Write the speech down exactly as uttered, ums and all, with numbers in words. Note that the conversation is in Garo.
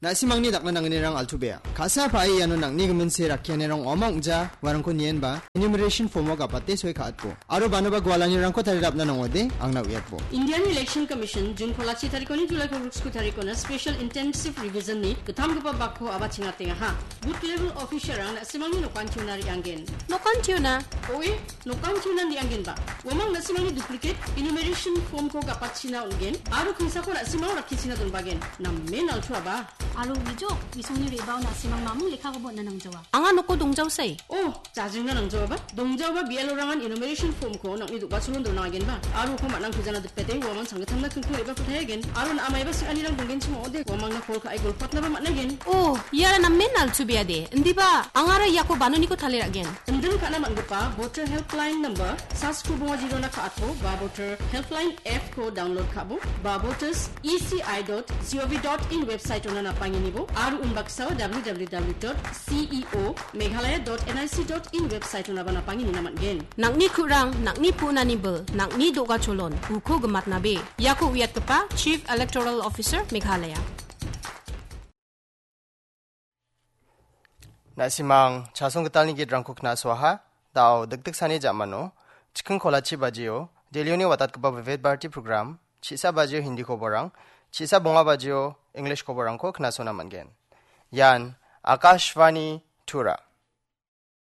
Na·simangni dakna nangnirang altu·bea. Ka·sa pa·e iano nang·ni giminse rakkianirang ong·a ong·ja, uarangko nienba, enumeration form-o gapate soi ka·atbo. Aro banoba gualanirangko tarirapna nang·ode, angna uiatbo. Indian Election Commission June kolachi tarikoni July kolgriksku tarikona Special Intensive Revision-ni gittamgipa bakko aba chingatengaha. Booth level officer-rang na·simangni nokantiona re·anggen. Nokantiona? Oe, nokantiona re·anggenba. Uamang na·simangni duplicate enumeration form-ko gapatchina on·gen, aro kingsako na·simang rakkichina donbagen. Namen altuaba. Aro uijok, isongni re·bao na·simang mamung lekkakoba on·na nangjawa. Anga noko dongjaosai. Oh, jajingna nangjaoba. Dongjaoba B L O-rangan enumeration form-ko nang·ni do·gacholon dona agenba. Aro uko man·ang tujana dipete, uamang sanggittamna kingking re·bako tayagen. Aro na·a maiba sing·anirang donggenchim ong·ode, uamangna kol ka·e golpatnaba man·agen. Oh, iara namen altubeade. Indiba, angara iako banoniko taliragen. Indin ka·na man·gipa Voter Helpline number, sasku bonga jirona ka·atbo, ba Voter Helpline app-ko download ka·bo, ba voters E C I dot G O V dot in website-ona napanginibo, aro unbaksao W W W dot C E O Meghalaya dot N I C dot in website-onaba napanginina man·gen. Nang·ni ku·rang, nang·ni pu·nani bil, nang·ni do·gacholon, uko gimatnabe. Iako uiatgipa Chief Electoral Officer Meghalaya. Na·simang chasong gitalni gitrangko knasoaha, da·o dikdiksani ja·mano, chiking kolachi bajio, Delhioni watatgipa Vivid Bharati program, chisa bajio Hindi koborang, chisa bonga bajio English koborangko knasona man·gen. Ian Akashvani Tura.